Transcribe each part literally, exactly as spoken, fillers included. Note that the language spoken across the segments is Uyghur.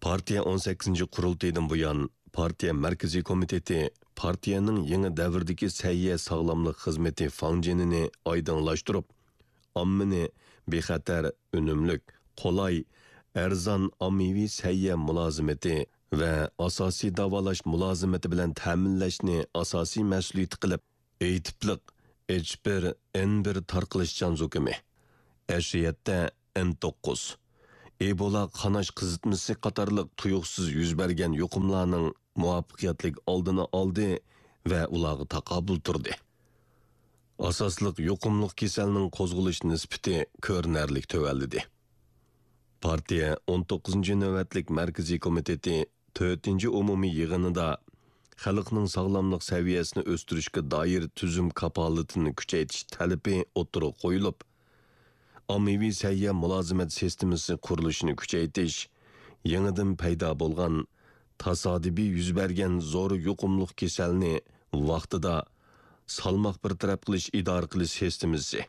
پارتىيە ئون سەككىزىنچى قۇرۇلتىيىدىن بۇيان، پارتىيە مەركىزىي كومىتېتى پارتىيەنىڭ يېڭى دەۋردىكى سەھىيە ساغلاملىق خىزمىتى فاڭجېنىنى ئايدىڭلاشتۇرۇپ، ئاممىنى بىخەتەر، ئۈنۈملۈك، قولاي، ئەرزان ئاممىۋى سەھىيە مۇلازىمىتى ۋە ئاساسىي داۋالاش مۇلازىمىتى بىلەن تەمىنلەشنى ئاساسىي مەسئۇلىيىتى قىلىپ، ئېيتىپلىق ئېچ بىر، ئېن بىر تارقىلىشچان زۇكىمى، ئەشىيەتتە ئېن توققۇز، ئېبولا قاناش قىزىتمىسى قاتارلىق تۇيۇقسىز يۈز بەرگەن يۇقۇملارنىڭ مۇۋەپپەقىيەتلىك ئالدىنى ئالدى ۋە ئۇلارغا تاقابىل تۇردى. ئاساسلىق يۇقۇملۇق كېسەلنىڭ قوزغىلىش نىسبىتى كۆرۈنەرلىك تۆۋەنلىدى. پارتىيە ئون توققۇزىنچى نۆۋەتلىك مەركىزىي كومىتېتى تۆتىنچى ئومۇمىي يىغىنىدا خەلقنىڭ ساغلاملىق سەۋىيەسىنى ئۆستۈرۈشكە دائىر تۈزۈم كاپالىتىنى كۈچەيتىش تەلىپى ئوتتۇرىغا قويۇلۇپ، ئاممىۋى سەھىيە مۇلازىمەت سىستېمىسى قۇرۇلۇشىنى كۈچەيتىش، يېڭىدىن پەيدا بولغان، تاسادىپىي يۈز بەرگەن زور يۇقۇملۇق كېسەلنى ۋاقتىدا، سالماق بىر تەرەپ قىلىش ئىدارە قىلىش سىستېمىسى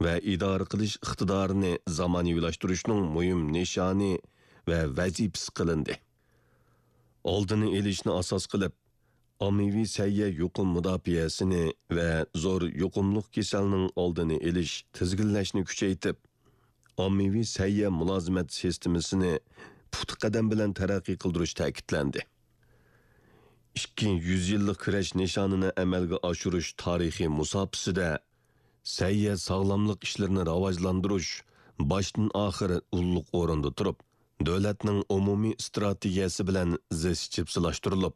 ۋە ئىدارە قىلىش ئىقتىدارىنى زامانىۋىلاشتۇرۇشنىڭ مۇھىم نىشانى ۋە ۋەزىپىسى قىلىندى. ئالدىنى ئېلىشنى ئاساس قىلىپ، ئاممىۋى سەھىيە يۇقۇم مۇداپىئەسىنى ۋە زور يۇقۇملۇق كېسەلنىڭ ئالدىنى ئېلىش، تىزگىنلەشنى كۈچەيتىپ، ئاممىۋى سەھىيە مۇلازىمەت سىستېمىسىنى پۇختا قەدەم بىلەن تەرەققىي قىلدۇرۇش تەكىتلەندى. ئىككى يۈز يىللىق كۈرەش نىشانىنى ئەمەلگە ئاشۇرۇش تارىخىي مۇساپىسىدە سەھىيە ساغلاملىق ئىشلىرىنى راۋاجلاندۇرۇش باشتىن ئاخىر ئۇللۇق ئورۇندا تۇرۇپ، دۆلەتنىڭ ئومۇمىي ئىستراتېگىيەسى بىلەن زىچ جىپسىلاشتۇرۇلۇپ،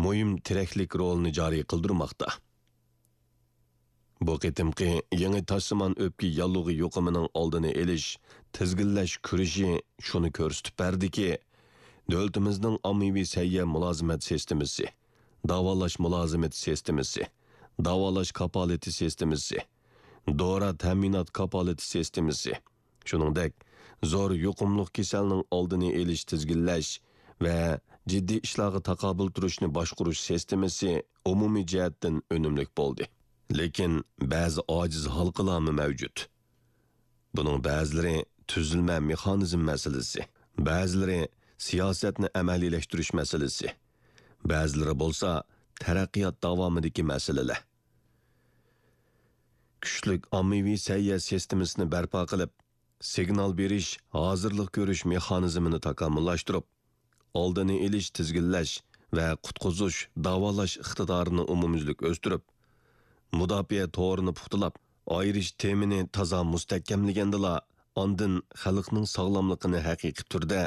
مۇھىم تىرەكلىك رولىنى جارى قىلدۇرماقتا. بۇ قېتىمقى يېڭى تاشسىمان ئۆپكە ياللۇغى يۇقۇمىنىڭ ئالدىنى ئېلىش، تىزگىنلەش كۈرىشى شۇنى كۆرسىتىپ بەردىكى، دۆلىتىمىزنىڭ ئاممىۋى سەھىيە مۇلازىمەت سىستېمىسى، داۋالاش مۇلازىمىتى سىستېمىسى، داۋالاش كاپالىتى سىستېمىسى، دورا تەمىنات كاپالىتى سىستېمىسى، شۇنىڭدەك زور يۇقۇملۇق كېسەلنىڭ ئالدىنى ئېلىش، تىزگىنلەش ۋە جىددىي ئىشلارغا تاقابىل تۇرۇشنى باشقۇرۇش سىستېمىسى ئومۇمىي جەھەتتىن ئۈنۈملۈك بولدى. لېكىن بەزى ئاجىز ھالقىلارمۇ مەۋجۇت. بۇنىڭ بەزىلىرى تۈزۈلمە مېخانىزم مەسىلىسى، بەزىلىرى سىياسەتنى ئەمەلىيلەشتۈرۈش مەسىلىسى، بەزىلىرى بولسا تەرەققىيات داۋامىدىكى مەسىلىلەر. كۈچلۈك ئاممىۋى سەھىيە سىستېمىسىنى بەرپا قىلىپ، سىگنال بېرىش، ھازىرلىق كۆرۈش مېخانىزمىنى تاكامۇللاشتۇرۇپ، ئالدىنى ئېلىش، تىزگىنلەش ۋە قۇتقۇزۇش، داۋالاش ئىقتىدارىنى ئومۇميۈزلۈك ئۆستۈرۈپ، مۇداپىئە تورىنى پۇختىلاپ، ئايرىش تېمىنى تازا مۇستەھكەملىگەندىلا، ئاندىن خەلقنىڭ ساغلاملىقىنى ھەقىقىي تۈردە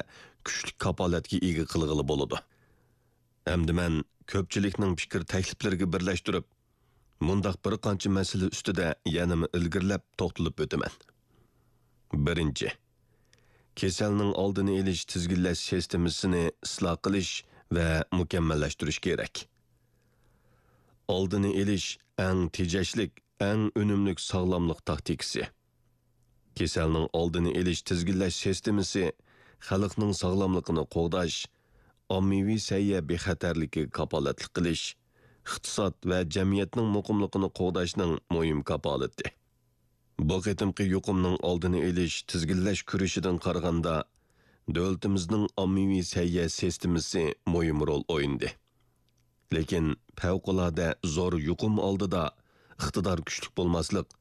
كۈچلۈك كاپالەتكە ئىگە قىلغىلى بولىدۇ. ئەمدى مەن كۆپچىلىكنىڭ پىكىر تەكلىپلىرىگە بىرلەشتۈرۈپ، مۇنداق بىر قانچە مەسىلە ئۈستىدە يەنىمۇ ئىلگىرىلەپ توختىلىپ ئۆتىمەن. بىرىنچى، كېسەلنىڭ ئالدىنى ئېلىش، تىزگىنلەش سىستېمىسىنى ئىسلاھ قىلىش ۋە مۇكەممەللەشتۈرۈش كېرەك. ئالدىنى ئېلىش ئەڭ تېجەشلىك، ئەڭ ئۈنۈملۈك ساغلاملىق تاكتىكىسى. كېسەلنىڭ ئالدىنى ئېلىش، تىزگىنلەش سىستېمىسى خەلقنىڭ ساغلاملىقىنى قوغداش، ئاممىۋى سەھىيە بىخەتەرلىكىگە كاپالەتلىك قىلىش، ئىقتىساد ۋە جەمئىيەتنىڭ مۇقىملىقىنى قوغداشنىڭ مۇھىم كاپالىتى. بۇ قېتىمقى يۇقۇمنىڭ ئالدىنى ئېلىش، تىزگىنلەش كۈرىشىدىن قارىغاندا، دۆلىتىمىزنىڭ ئاممىۋى سەھىيە سىستېمىسى مۇھىم رول ئوينىدى. لېكىن پەۋقۇلئاددە زور يۇقۇم ئالدىدا ئىقتىدار كۈچلۈك بولماسلىق،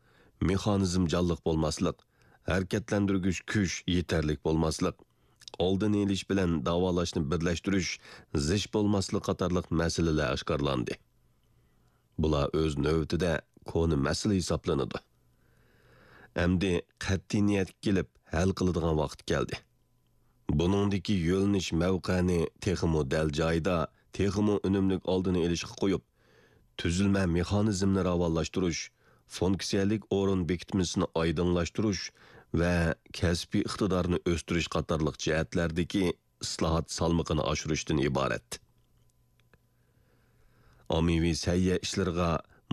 مېخانىزم جانلىق بولماسلىق، ھەرىكەتلەندۈرگۈچ كۈچ يېتەرلىك بولماسلىق، ئالدىنى ئېلىش بىلەن داۋالاشنى بىرلەشتۈرۈش زىچ بولماسلىق قاتارلىق مەسىلىلەر ئاشكارىلاندى. بۇلار ئۆز نۆۋىتىدە كونا مەسىلە ھېسابلىنىدۇ. ئەمدى قەتئىي نىيەتكە كېلىپ ھەل قىلىدىغان ۋاقىت كەلدى. بۇنىڭدىكى يۆنىلىش مەۋقەنى تېخىمۇ دەل جايىدا، تېخىمۇ ئۈنۈملۈك ئالدىنى ئېلىشقا قويۇپ، تۈزۈلمە مېخانىزمىنى راۋانلاشتۇرۇش، فۇنكسىيەلىك ئورۇن بېكىتمىسىنى ئايدىڭلاشتۇرۇش ۋە كەسپىي ئىقتىدارنى ئۆستۈرۈش قاتارلىق جەھەتلەردىكى ئىسلاھات سالمىقىنى ئاشۇرۇشتىن ئىبارەت. ئاممىۋى سەھىيە ئىشلىرىغا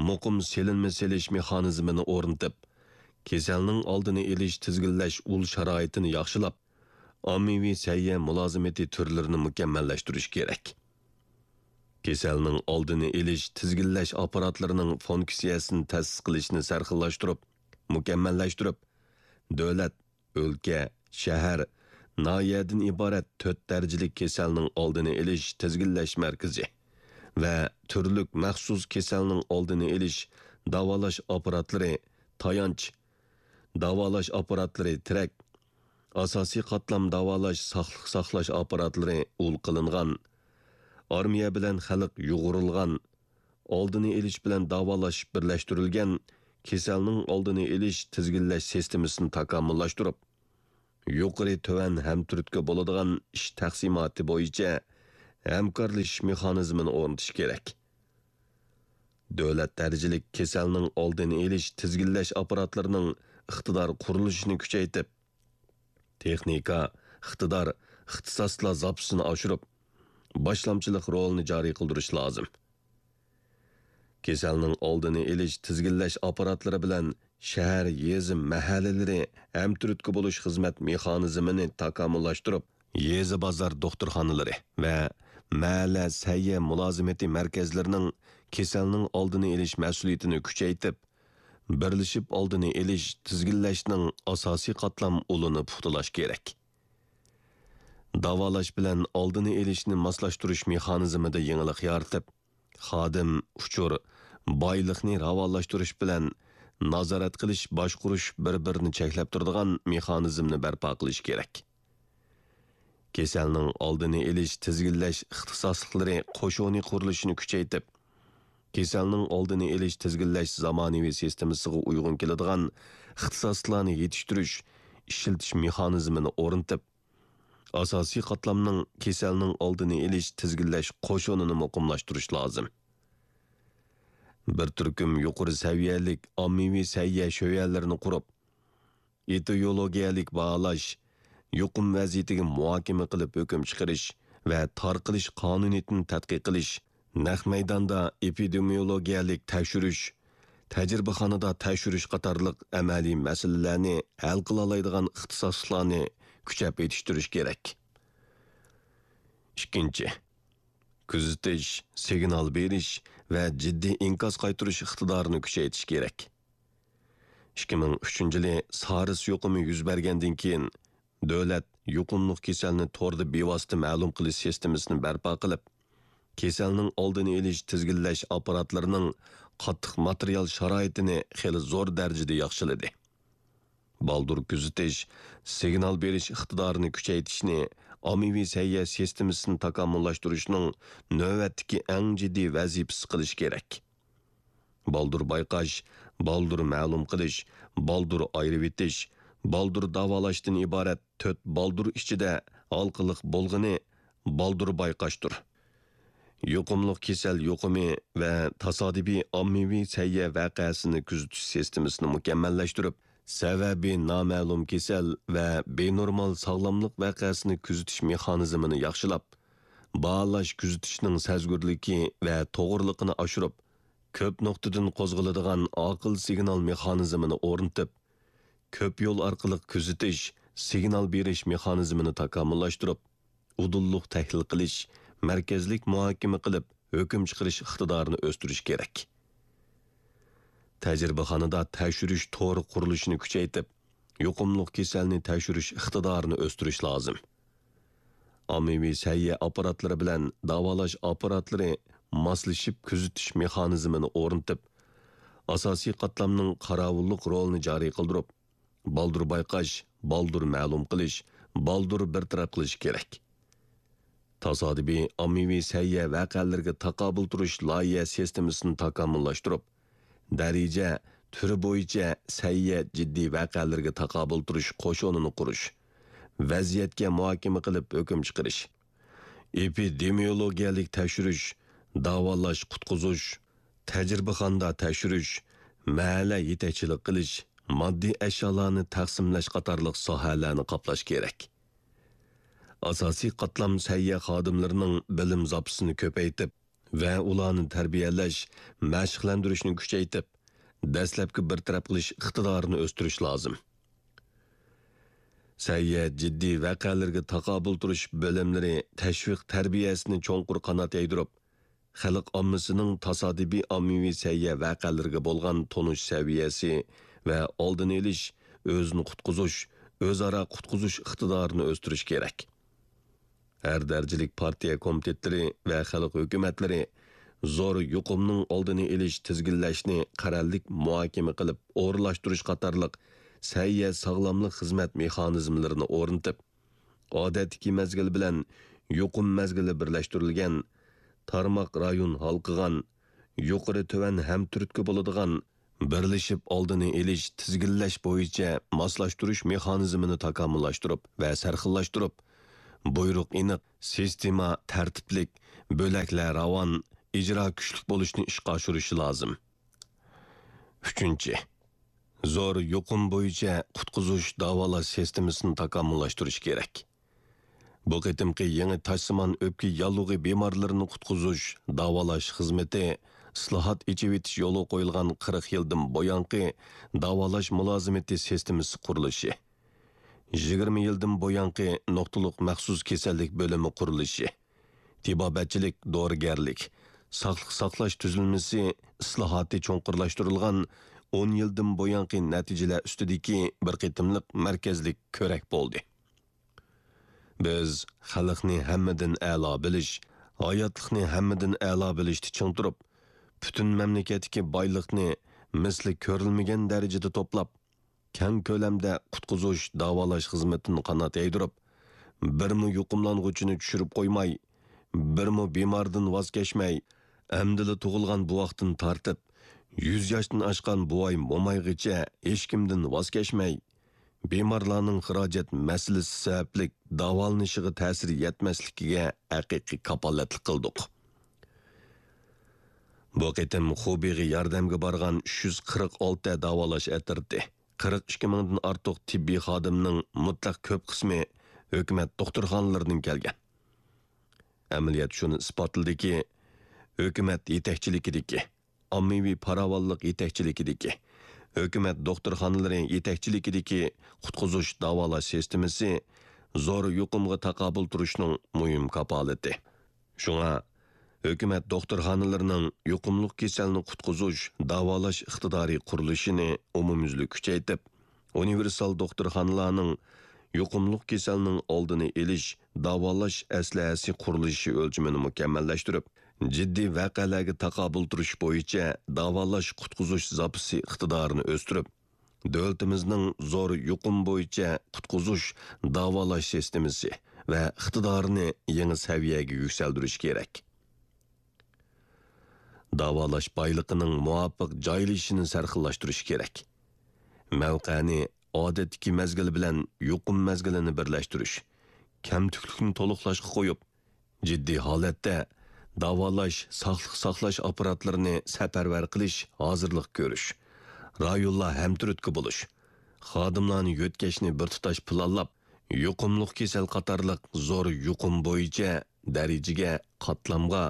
مۇقىم سېلىنما سېلىش مېخانىزمىنى ئورنىتىپ، كېسەلنىڭ ئالدىنى ئېلىش، تىزگىنلەش ئۇل شارائىتىنى ياخشىلاپ، ئاممىۋى سەھىيە مۇلازىمىتى تۈرلىرىنى مۇكەممەللەشتۈرۈش كېرەك. كېسەلنىڭ ئالدىنى ئېلىش، تىزگىنلەش ئاپپاراتلىرىنىڭ فۇنكسىيەسىنى تەسىس قىلىشنى سەرخىللاشتۇرۇپ، مۇكەممەللەشتۈرۈپ، دۆلەت، ئۆلكە، شەھەر، ناھىيەدىن ئىبارەت تۆت دەرىجىلىك كېسەلنىڭ ئالدىنى ئېلىش تىزگىنلەش مەركىزى ۋە تۈرلۈك مەخسۇس كېسەلنىڭ ئالدىنى ئېلىش داۋالاش ئاپپاراتلىرى تايانچ، داۋالاش ئاپپاراتلىرى تىرەك، ئاساسىي قاتلام داۋالاش ساقلىق ساقلاش ئاپپاراتلىرى ئۇل قىلىنغان، ئارمىيە بىلەن خەلق يۇغۇرۇلغان، ئالدىنى ئېلىش بىلەن داۋالاش بىرلەشتۈرۈلگەن كېسەلنىڭ ئالدىنى ئېلىش تىزگىنلەش سىستېمىسىنى تاكامۇللاشتۇرۇپ، يۇقىرى تۆۋەن ھەمتۈرتكە بولىدىغان ئىش تەقسىماتى بويىچە ھەمكارلىشىش مېخانىزمىنى ئورنىتىش كېرەك. دۆلەت دەرىجىلىك كېسەلنىڭ ئالدىنى ئېلىش تىزگىنلەش ئاپپاراتلىرىنىڭ ئىقتىدار قۇرۇلۇشىنى كۈچەيتىپ، تېخنىكا، ئىقتىدار، ئىختىساسلار زاپىسىنى ئاشۇرۇپ، باشلامچىلىق رولىنى جارى قىلدۇرۇش لازىم. كېسەلنىڭ ئالدىنى ئېلىش تىزگىنلەش ئاپپاراتلىرى بىلەن شەھەر، يېزا، مەھەللىلىرى ھەمتۈرتكە بولۇش خىزمەت مېخانىزمىنى تاكامۇللاشتۇرۇپ، يېزا بازار دوختۇرخانىلىرى ۋە مەھەللە سەھىيە مۇلازىمىتى مەركەزلىرىنىڭ كېسەلنىڭ ئالدىنى ئېلىش مەسئۇلىيىتىنى كۈچەيتىپ، بىرلىشىپ ئالدىنى ئېلىش، تىزگىنلەشنىڭ ئاساسىي قاتلام ئۇلىنى پۇختىلاش كېرەك. داۋالاش بىلەن ئالدىنى ئېلىشنى ماسلاشتۇرۇش مېخانىزمىدا يېڭىلىق يارىتىپ، خادىم، ئۇچۇر، بايلىقنى راۋانلاشتۇرۇش بىلەن نازارەت قىلىش، باشقۇرۇش بىر-بىرىنى چەكلەپ تۇرىدىغان مېخانىزمنى بەرپا قىلىش كېرەك. كېسەلنىڭ ئالدىنى ئېلىش، تىزگىنلەش ئىختىساسلىقلىرى قوشۇنى قۇرۇلۇشىنى كۈچەيتىپ، كېسەلنىڭ ئالدىنى ئېلىش، تىزگىنلەش زامانىۋى سىستېمىسىغا ئۇيغۇن كېلىدىغان ئىختىساسلىقلارنى يېتىشتۈرۈش، ئىشلىتىش مېخانىزمىنى ئورنىتىپ، ئاساسىي قاتلامنىڭ كېسەلنىڭ ئالدىنى ئېلىش، تىزگىنلەش قوشۇنىنى مۇقىملاشتۇرۇش لازىم. بىر تۈركۈم يۇقىرى سەۋىيەلىك ئاممىۋى سەھىيە شۆيەنلىرىنى قۇرۇپ، ئېتىيولوگىيەلىك باھالاش، يۇقۇم ۋەزىيىتىگە مۇھاكىمە قىلىپ ھۆكۈم چىقىرىش ۋە تارقىلىش قانۇنىيىتىنى تەتقىق قىلىش، نەق مەيداندا ئېپىدېمىيولوگىيەلىك تەكشۈرۈش، تەجرىبىخانىدا تەكشۈرۈش قاتارلىق ئەمەلىي مەسىلىلەرنى ھەل قىلالايدىغان ئىختىساسلىقلارنى كۈچەپ يېتىشتۈرۈش كېرەك. ئىككىنچى، كۆزىتىش، سىگنال بېرىش ۋە جىددىي ئىنكاس قايتۇرۇش ئىقتىدارىنى كۈچەيتىش كېرەك. ئىككى مىڭ ئۈچىنچى يىلى سارس يۇقۇمى يۈز بەرگەندىن كېيىن، دۆلەت يۇقۇملۇق كېسەلنى توردا بىۋاسىتە مەلۇم قىلىش سىستېمىسىنى بەرپا قىلىپ، كېسەلنىڭ ئالدىنى ئېلىش، تىزگىنلەش ئاپپاراتلىرىنىڭ قاتتىق ماتېرىيال شارائىتىنى خېلى زور دەرىجىدە ياخشىلىدى. بالدۇر كۆزىتىش، سىگنال بېرىش ئىقتىدارىنى كۈچەيتىشنى ئاممىۋى سەھىيە سىستېمىسىنى تاكامۇللاشتۇرۇشنىڭ نۆۋەتتىكى ئەڭ جىددىي ۋەزىپىسى قىلىش كېرەك. بالدۇر بايقاش، بالدۇر مەلۇم قىلىش، بالدۇر ئايرىۋېتىش، بالدۇر داۋالاشتىن ئىبارەت تۆت بالدۇر ئىچىدە ھالقىلىق بولغىنى بالدۇر بايقاشتۇر. يۇقۇملۇق كېسەل يۇقۇمى ۋە تاسادىپىي ئاممىۋى سەھىيە ۋەقەسىنى كۆزىتىش سىستېمىسىنى مۇكەممەللەشتۈرۈپ، سەۋەبى نامەلۇم كېسەل ۋە بىنورمال ساغلاملىق ۋەقەسىنى كۆزىتىش مېخانىزمىنى ياخشىلاپ، باھالاش كۆزىتىشنىڭ سەزگۈرلۈكى ۋە توغرىلىقىنى ئاشۇرۇپ، كۆپ نۇقتىدىن قوزغىلىدىغان ئاقىل سىگنال مېخانىزمىنى ئورنىتىپ، كۆپ يول ئارقىلىق كۆزىتىش، سىگنال بېرىش مېخانىزمىنى تاكامۇللاشتۇرۇپ، ئۇدۇللۇق تەھلىل قىلىش، مەركەزلىك مۇھاكىمە قىلىپ، ھۆكۈم چىقىرىش ئىقتىدارىنى ئۆستۈرۈش كېرەك. تەجرىبىخانىدا تەكشۈرۈش تورى قۇرۇلۇشىنى كۈچەيتىپ، يۇقۇملۇق كېسەلنى تەكشۈرۈش ئىقتىدارىنى ئۆستۈرۈش لازىم. ئاممىۋى سەھىيە ئاپپاراتلىرى بىلەن داۋالاش ئاپپاراتلىرى ماسلىشىپ كۆزىتىش مېخانىزمىنى ئورنىتىپ، ئاساسىي قاتلامنىڭ قاراۋۇللۇق رولىنى جارى قىلدۇرۇپ، بالدۇر بايقاش، بالدۇر مەلۇم قىلىش، بالدۇر بىر تەرەپ قىلىش كېرەك. تاسادىپىي ئاممىۋى سەھىيە ۋەقەلىرىگە تاقابىل تۇرۇش لايىھە سىستېمىسىنى تاكامۇللاشتۇرۇپ، دەرىجە، تۈر بويىچە سەھىيە جىددىي ۋەقەلىرىگە تاقابىل تۇرۇش قوشۇنىنى قۇرۇش، ۋەزىيەتكە مۇھاكىمە قىلىپ ھۆكۈم چىقىرىش، ئېپىدېمىيولوگىيەلىك تەكشۈرۈش، داۋالاش، قۇتقۇزۇش، تەجرىبىخانىدا تەكشۈرۈش، مەھەللە يېتەكچىلىك قىلىش، ماددىي ئەشيالارنى تەقسىملەش قاتارلىق ساھەلەرنى قاپلاش كېرەك. ئاساسىي قاتلام سەھىيە خادىملىرىنىڭ بىلىم زاپىسىنى كۆپەيتىپ ۋە ئۇلارنى تەربىيەلەش، مەشىقلەندۈرۈشنى كۈچەيتىپ، دەسلەپكى بىر تەرەپ قىلىش ئىقتىدارىنى ئۆستۈرۈش لازىم. سەھىيە جىددىي ۋەقەلىرىگە تاقابىل تۇرۇش بۆلۈملىرى تەشۋىق تەربىيەسىنى چوڭقۇر قانات يايدۇرۇپ، خەلق ئاممىسىنىڭ تاسادىپىي ئاممىۋى سەھىيە ۋەقەلىرىگە بولغان تونۇش سەۋىيەسى ۋە ئالدىنى ئېلىش، ئۆزىنى قۇتقۇزۇش، ئۆزئارا قۇتقۇزۇش ئىقتىدارىنى ئۆستۈرۈش كېرەك. ھەر دەرىجىلىك پارتىيە كومىتېتلىرى ۋە خەلق ھۆكۈمەتلىرى زور يۇقۇمنىڭ ئالدىنى ئېلىش، تىزگىنلەشنى قەرەللىك مۇھاكىمە قىلىپ ئورۇنلاشتۇرۇش قاتارلىق سەھىيە ساغلاملىق خىزمەت مېخانىزملىرىنى ئورنىتىپ، ئادەتتىكى مەزگىل بىلەن يۇقۇم مەزگىلى بىرلەشتۈرۈلگەن، تارماق رايون ھالقىغان، يۇقىرى تۆۋەن ھەمتۈرتكە بولىدىغان، بىرلىشىپ ئالدىنى ئېلىش، تىزگىنلەش بويىچە ماسلاشتۇرۇش مېخانىزمىنى تاكامۇللاشتۇرۇپ ۋە سەرخىللاشتۇرۇپ، بۇيرۇق ئېنىق، سىستېما تەرتىپلىك، بۆلەكلەر راۋان، ئىجرا كۈچلۈك بولۇشنى ئىشقا ئاشۇرۇشى لازىم. ئۈچىنچى، زور يۇقۇم بويىچە قۇتقۇزۇش داۋالاش سىستېمىسىنى تاكامۇللاشتۇرۇش كېرەك. بۇ قېتىمقى يېڭى تاشسىمان ئۆپكە ياللۇغى بىمارلىرىنى قۇتقۇزۇش، داۋالاش خىزمىتى ئىسلاھات، ئېچىۋېتىش يولغا قويۇلغان قىرىق يىلدىن بۇيانقى داۋالاش مۇلازىمىتى سىستېمىسى قۇرۇلۇشى، يىگىرمە يىلدىن بۇيانقى نۇقتىلىق مەخسۇس كېسەللىك بۆلۈمى قۇرۇلۇشى، تېبابەتچىلىك، دورىگەرلىك، ساقلىق ساقلاش تۈزۈلمىسى ئىسلاھاتى چوڭقۇرلاشتۇرۇلغان ئون يىلدىن بۇيانقى نەتىجىلەر ئۈستىدىكى بىر قېتىملىق مەركەزلىك كۆرەك بولدى. بىز خەلقنى ھەممىدىن ئەلا بىلىش، ھاياتلىقنى ھەممىدىن ئەلا بىلىشتە چىڭ تۇرۇپ، پۈتۈن مەملىكەتتىكى بايلىقنى مىسلى كۆرۈلمىگەن دەرىجىدە توپلاپ، كەڭ كۆلەمدە قۇتقۇزۇش، داۋالاش خىزمىتىنى قانات يايدۇرۇپ، بىرمۇ يۇقۇملانغۇچىنى چۈشۈرۈپ قويماي، بىرمۇ بىماردىن ۋاز كەچمەي، ئەمدىلا تۇغۇلغان بوۋاقتىن تارتىپ، يۈز ياشتىن ئاشقان بوۋاي-مومايغىچە ھېچكىمدىن ۋاز كەچمەي، بىمارلارنىڭ خىراجەت مەسىلىسى سەۋەبلىك داۋالىنىشىغا تەسىر يەتمەسلىكىگە ھەقىقىي كاپالەتلىك قىلدۇق. بۇ قېتىم خۇبېيغا ياردەمگە بارغان ئۈچ يۈز قىرىق ئالتە داۋالاش ئەترىتى، قىرىق ئىككى مىڭدىن ئارتۇق تېببىي خادىمنىڭ مۇتلەق كۆپ قىسمى ھۆكۈمەت دوختۇرخانىلىرىدىن كەلگەن. ئەمەلىيەت شۇنى ئىسپاتلىدىكى، ھۆكۈمەت يېتەكچىلىكىدىكى، ئاممىۋى پاراۋانلىق يېتەكچىلىكىدىكى، ھۆكۈمەت دوختۇرخانىلىرى يېتەكچىلىكىدىكى قۇتقۇزۇش داۋالاش سىستېمىسى زور يۇقۇمغا تاقابىل تۇرۇشنىڭ مۇھىم كاپالىتى. شۇڭا، ھۆكۈمەت دوختۇرخانىلىرىنىڭ يۇقۇملۇق كېسەلنى قۇتقۇزۇش، داۋالاش ئىقتىدارى قۇرۇلۇشىنى ئومۇميۈزلۈك كۈچەيتىپ، ئۇنىۋېرسال دوختۇرخانىلارنىڭ يۇقۇملۇق كېسەلنىڭ ئالدىنى ئېلىش، داۋالاش ئەسلىھەسى قۇرۇلۇشى ئۆلچىمىنى مۇكەممەللەشتۈرۈپ، جىددىي ۋەقەلەرگە تاقابىل تۇرۇش بويىچە داۋالاش قۇتقۇزۇش زاپىسى ئىقتىدارىنى ئۆستۈرۈپ، دۆلىتىمىزنىڭ زور يۇقۇم بويىچە قۇتقۇزۇش، داۋالاش سىستېمىسى ۋە ئىقتىدارىنى يېڭى سەۋىيەگە يۈكسەلدۈرۈش كېرەك. داۋالاش بايلىقىنىڭ مۇۋاپىق جايلىشىشىنى سەرخىللاشتۇرۇش كېرەك. مەۋقەنى ئادەتتىكى مەزگىل بىلەن يۇقۇم مەزگىلىنى بىرلەشتۈرۈش، كەمتۈكلۈكنى تولۇقلاشقا قويۇپ، جىددىي ھالەتتە داۋالاش، ساقلىق ساقلاش ئاپپاراتلىرىنى سەپەرۋەر قىلىش، ھازىرلىق كۆرۈش، رايونلار ھەمتۈرتكە بولۇش، خادىملارنى يۆتكەشنى بىر تۇتاش پىلانلاپ، يۇقۇملۇق كېسەل قاتارلىق زور يۇقۇم بويىچە دەرىجىگە، قاتلامغا،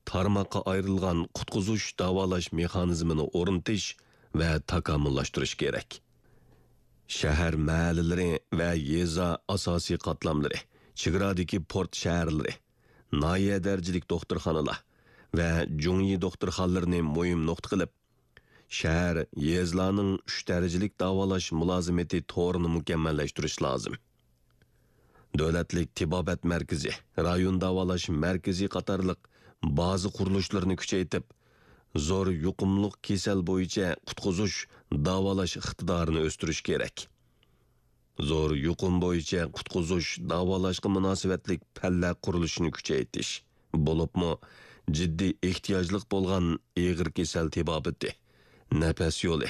تارماققا ئايرىلغان قۇتقۇزۇش، داۋالاش مېخانىزمىنى ئورنىتىش ۋە تاكامۇللاشتۇرۇش كېرەك. شەھەر مەھەللىلىرى ۋە يېزا ئاساسىي قاتلاملىرى، چېگرادىكى پورت شەھەرلىرى، ناھىيە دەرىجىلىك دوختۇرخانىلار ۋە جۇڭيى دوختۇرخانىلىرىنى مۇھىم نۇقتا قىلىپ، شەھەر، يېزىلارنىڭ ئۈچ دەرىجىلىك داۋالاش مۇلازىمىتى تورىنى مۇكەممەللەشتۈرۈش لازىم. دۆلەتلىك تېبابەت مەركىزى، رايون داۋالاش مەركىزى قاتارلىق بازا قۇرۇلۇشلىرىنى كۈچەيتىپ، زور يۇقۇملۇق كېسەل بويىچە قۇتقۇزۇش، داۋالاش ئىقتىدارىنى ئۆستۈرۈش كېرەك. زور يۇقۇم بويىچە قۇتقۇزۇش، داۋالاشقا مۇناسىۋەتلىك پەنلەر قۇرۇلۇشىنى كۈچەيتىش، بولۇپمۇ جىددىي ئېھتىياجلىق بولغان ئېغىر كېسەل تېبابىتى، نەپەس يولى،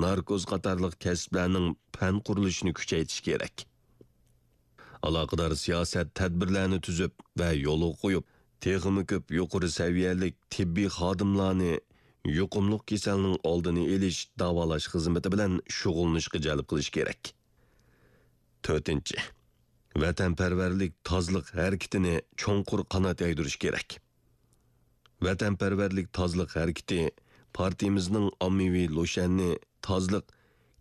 ناركوز قاتارلىق كەسىپلەرنىڭ پەن قۇرۇلۇشىنى كۈچەيتىش كېرەك. ئالاقىدار سىياسەت، تەدبىرلەرنى تۈزۈپ ۋە يولغا قويۇپ، تېخىمۇ كۆپ يۇقىرى سەۋىيەلىك تېببىي خادىملارنى يۇقۇملۇق كېسەلنىڭ ئالدىنى ئېلىش، داۋالاش خىزمىتى بىلەن شۇغۇللىنىشقا جەلپ قىلىش كېرەك. تۆتىنچى، ۋەتەنپەرۋەرلىك تازىلىق ھەرىكىتىنى چوڭقۇر قانات يايدۇرۇش كېرەك. ۋەتەنپەرۋەرلىك تازىلىق ھەرىكىتى پارتىيىمىزنىڭ ئاممىۋى لۇشيەننى تازىلىق،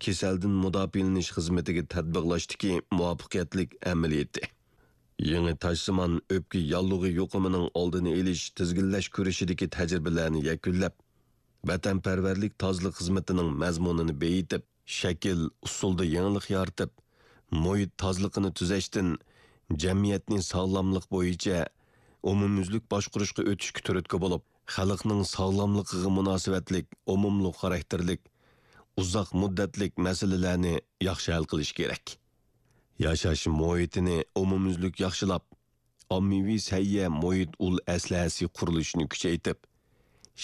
كېسەلدىن مۇداپىئەلىنىش خىزمىتىگە تەتبىقلاشتىكى مۇۋەپپەقىيەتلىك ئەمەلىيىتى. يېڭى تاشسىمان ئۆپكە ياللۇغى يۇقۇمىنىڭ ئالدىنى ئېلىش، تىزگىنلەش كۈرىشىدىكى تەجرىبىلەرنى يەكۈنلەپ، ۋەتەنپەرۋەرلىك تازىلىق خىزمىتىنىڭ مەزمۇنىنى بېيىتىپ، شەكىل، ئۇسۇلدا يېڭىلىق يارىتىپ، مۇھىت تازىلىقىنى تۈزەشتىن جەمئىيەتنى ساغلاملىق بويىچە ئومۇميۈزلۈك باشقۇرۇشقا ئۆتۈشكە تۈرتكە بولۇپ، خەلقنىڭ ساغلاملىقىغا مۇناسىۋەتلىك ئومۇملۇق خاراكتېرلىك، ئۇزاق مۇددەتلىك مەسىلىلەرنى ياخشى ھەل قىلىش كېرەك. ياشاش مۇھىتىنى ئومۇميۈزلۈك ياخشىلاپ، ئاممىۋى سەھىيە مۇھىت ئۇل ئەسلىھەسى قۇرۇلۇشىنى كۈچەيتىپ،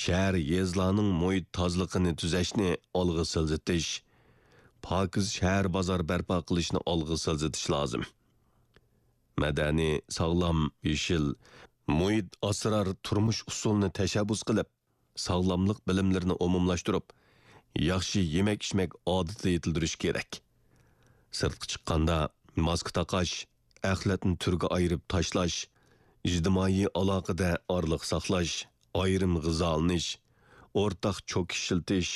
شەھەر، يېزىلارنىڭ مۇھىت تازىلىقىنى تۈزەشنى ئالغا سىلجىتىش، پاكىز شەھەر بازار بەرپا قىلىشنى ئالغا سىلجىتىش لازىم. مەدەنىي، ساغلام، يېشىل، مۇھىت ئاسرار تۇرمۇش ئۇسۇلىنى تەشەببۇس قىلىپ، ساغلاملىق بىلىملىرىنى ئومۇملاشتۇرۇپ، ياخشى يېمەك-ئىچمەك ئادىتىنى يېتىلدۈرۈش كېرەك. سىرتقا چىققاندا ماسكا تاقاش، ئەخلەتنى تۈرگە ئايرىپ تاشلاش، ئىجتىمائىي ئالاقىدە ئارىلىق ساقلاش، ئايرىم غىزالىنىش، ئورتاق چوك ئىشلىتىش،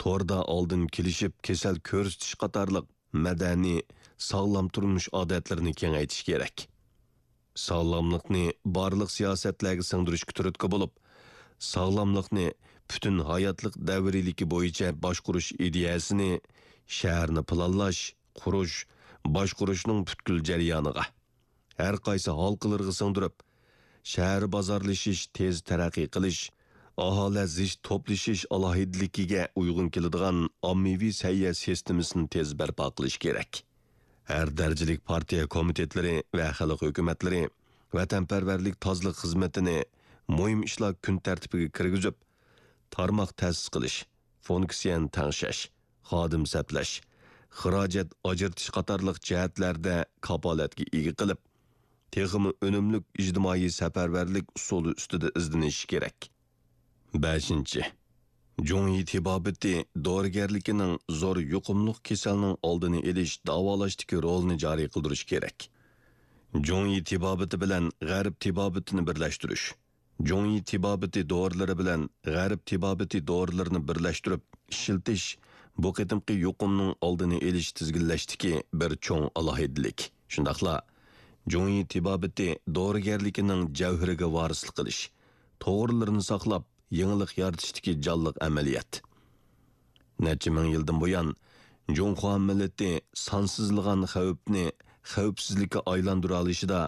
توردا ئالدىن كېلىشىپ كېسەل كۆرسىتىش قاتارلىق مەدەنىي، ساغلام تۇرمۇش ئادەتلىرىنى كېڭەيتىش كېرەك. ساغلاملىقنى بارلىق سىياسەتلەرگە سىڭدۈرۈشكە تۈرتكە بولۇپ، ساغلاملىقنى پۈتۈن ھاياتلىق دەۋرىيلىكى بويىچە باشقۇرۇش ئىدىيەسىنى شەھەرنى پىلانلاش، قۇرۇش، باشقۇرۇشنىڭ پۈتكۈل جەريانىغا، ھەر قايسى ھالقىلىرىغا سىڭدۈرۈپ، شەھەر بازارلىشىش تېز تەرەققىي قىلىش، ئاھالە زىچ توپلىشىش ئالاھىدىلىكىگە ئۇيغۇن كېلىدىغان ئاممىۋى سەھىيە سىستېمىسىنى تېز بەرپا قىلىش كېرەك. ھەر دەرىجىلىك پارتىيە كومىتېتلىرى ۋە خەلق ھۆكۈمەتلىرى ۋەتەنپەرۋەرلىك تازىلىق خىزمىتىنى مۇھىم ئىشلار كۈن تەرتىپىگە كىرگۈزۈپ، تارماق تەسىس قىلىش، فۇنكسىيەنى تەڭشەش، خادىم سەپلەش، خىراجەت ئاجرىتىش قاتارلىق جەھەتلەردە كاپالەتكە ئىگە قىلىپ، تېخىمۇ ئۈنۈملۈك ئىجتىمائىي سەپەرۋەرلىك ئۇسۇلى ئۈستىدە ئىزدىنىش كېرەك. بەشىنچى، جۇڭيى تېبابىتى دورىگەرلىكىنىڭ زور يۇقۇملۇق كېسەلنىڭ ئالدىنى ئېلىش، داۋالاشتىكى رولىنى جارى قىلدۇرۇش كېرەك. جۇڭيى تېبابىتى بىلەن غەرب تېبابىتىنى بىرلەشتۈرۈش. جۇڭيى تېبابىتى دورىلىرى بىلەن غەرب تېبابىتى دورىلىرىنى بىرلەشتۈرۈپ ئىشلىتىش بۇ قېتىمقى يۇقۇمنىڭ ئالدىنى ئېلىش، تىزگىنلەشتىكى بىر چوڭ ئالاھىدىلىك. شۇنداقلا جۇڭيى تېبابىتى دورىگەرلىكىنىڭ جەۋھىرىگە ۋارىسلىق قىلىش، توغرىلىرىنى ساقلاپ، يېڭىلىق يارىتىشتىكى جانلىق ئەمەلىيەت. نەچچە مىڭ يىلدىن بۇيان، جۇڭخۇا مىللىتى سانسىزلىغان خەۋپنى خەۋپسىزلىككە ئايلاندۇرالىشىدا،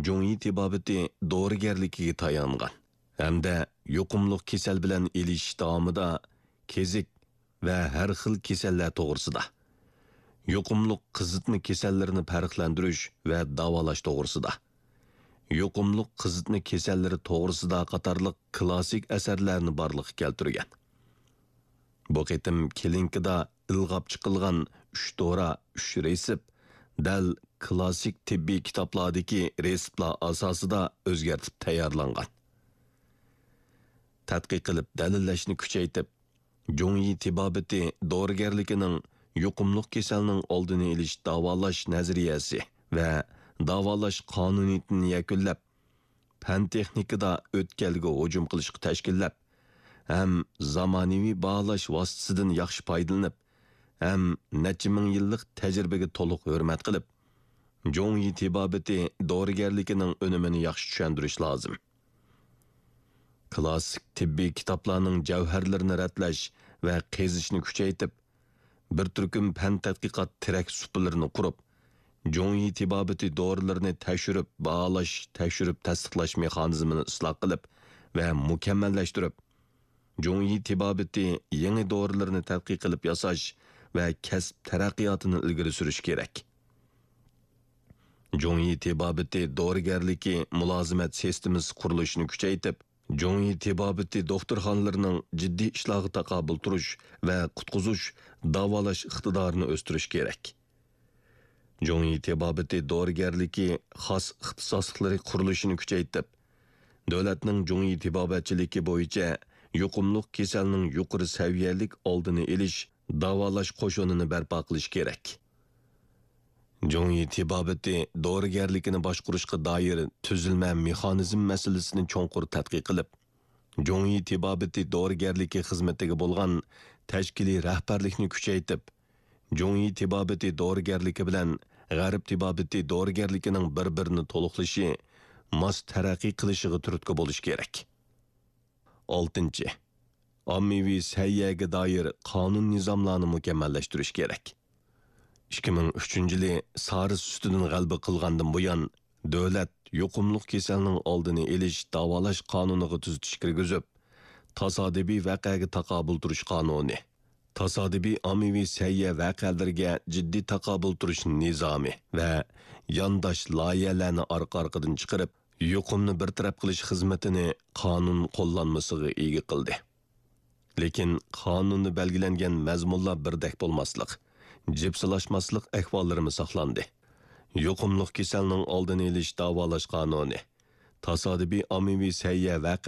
جۇڭيى تېبابىتى دورىگەرلىكىگە تايانغان ھەمدە يۇقۇملۇق كېسەل بىلەن ئېلىشىش داۋامىدا كېزىك ۋە ھەر خىل كېسەللەر توغرىسىدا، يۇقۇملۇق قىزىتما كېسەللىرىنى پەرقلەندۈرۈش ۋە داۋالاش توغرىسىدا، يۇقۇملۇق قىزىتما كېسەللىرى توغرىسىدا قاتارلىق كلاسسىك ئەسەرلەرنى بارلىققا كەلتۈرگەن. بۇ قېتىم كلىنىكىدا ئىلغاپ چىقىلغان ئۈچ دورا، ئۈچ رېتسېپ دەل كلاسسىك تېببىي كىتابلاردىكى رېتسېپلار ئاساسىدا ئۆزگەرتىپ تەييارلانغان. تەتقىق قىلىپ دەلىللەشنى كۈچەيتىپ، جۇڭيى تېبابىتى دورىگەرلىكىنىڭ يۇقۇملۇق كېسەلنىڭ ئالدىنى ئېلىش داۋالاش نەزەرىيەسى ۋە داۋالاش قانۇنىيىتىنى يەكۈنلەپ، پەن-تېخنىكىدا ئۆتكەلگە ھۇجۇم قىلىشقا تەشكىللەپ، ھەم زامانىۋى باھالاش ۋاسىتىسىدىن ياخشى پايدىلىنىپ، ھەم نەچچە مىڭ يىللىق تەجرىبىگە تولۇق ھۆرمەت قىلىپ، جۇڭيى تېبابىتى دورىگەرلىكىنىڭ ئۈنۈمىنى ياخشى چۈشەندۈرۈش لازىم. كلاسسىك تېببىي كىتابلارنىڭ جەۋھەرلىرىنى رەتلەش ۋە قېزىشنى كۈچەيتىپ، بىر تۈركۈم پەن تەتقىقات تىرەك سۇپىلىرىنى قۇرۇپ، جۇڭيى تېبابىتى دورىلىرىنى تەكشۈرۈپ باھالاش، تەكشۈرۈپ تەستىقلاش مېخانىزمىنى ئىسلاھ قىلىپ ۋە مۇكەممەللەشتۈرۈپ، جۇڭيى تېبابىتى يېڭى دورىلىرىنى تەتقىق قىلىپ ياساش ۋە كەسىپ تەرەققىياتىنى ئىلگىرى سۈرۈش كېرەك. جۇڭيى تېبابىتى دورىگەرلىكى مۇلازىمەت سىستېمىسى قۇرۇلۇشىنى كۈچەيتىپ، جۇڭيى تېبابىتى دوختۇرخانىلىرىنىڭ جىددىي ئىشلارغا تاقابىل تۇرۇش ۋە قۇتقۇزۇش، داۋالاش ئىقتىدارىنى ئۆستۈرۈش كېرەك. جۇڭيى تېبابىتى دورىگەرلىكى خاس ئىختىساسلىقلىرى قۇرۇلۇشىنى كۈچەيتىپ، دۆلەتنىڭ جۇڭيى تېبابەتچىلىكى بويىچە يۇقۇملۇق كېسەلنىڭ يۇقىرى سەۋىيەلىك ئالدىنى ئېلىش، داۋالاش قوشۇنىنى بەرپا قىلىش كېرەك. جۇڭيى تېبابىتى دورىگەرلىكىنى باشقۇرۇشقا دائىر تۈزۈلمە مېخانىزم مەسىلىسىنى چوڭقۇر تەتقىق قىلىپ، جۇڭيى تېبابىتى دورىگەرلىكى خىزمىتىگە بولغان تەشكىلىي رەھبەرلىكنى كۈچەيتىپ، جۇڭيى تېبابىتى دورىگەرلىكى بىلەن غەرب تېبابىتى دورىگەرلىكىنىڭ بىر-بىرىنى تولۇقلىشى، ماس تەرەققىي قىلىشىغا تۈرتكە بولۇش كېرەك. ئالتىنچى، ئاممىۋى سەھىيەگە دائىر قانۇن نىزاملارنى مۇكەممەللەشتۈرۈش كېرەك. ئىككى مىڭ ئۈچىنچى يىلى سارس ئۈستىدىن غەلىبە قىلغاندىن بۇيان، دۆلەت يۇقۇملۇق كېسەلنىڭ ئالدىنى ئېلىش داۋالاش قانۇنىغا تۈزىتىش كىرگۈزۈپ، تاسادىپىي ۋەقەگە تاقابىل تۇرۇش قانۇنى، تاسادىپىي ئاممىۋى سەھىيە ۋەقەلىرىگە جىددىي تاقابىل تۇرۇش نىزامى ۋە يانداش لايىھەلەرنى ئارقا-ئارقىدىن چىقىرىپ، يۇقۇمنى بىر تەرەپ قىلىش خىزمىتىنى قانۇن قوللانمىسىغا ئىگە قىلدى. لېكىن قانۇندا بەلگىلەنگەن مەزمۇنلار بىردەك بولماسلىق، جىپسىلاشماسلىق ئەھۋاللىرىمۇ ساقلاندى. يۇقۇملۇق كېسەلنىڭ ئالدىنى ئېلىش داۋالاش قانۇنى، تاسادىپىي ئاممىۋى سەھىيە ۋەقە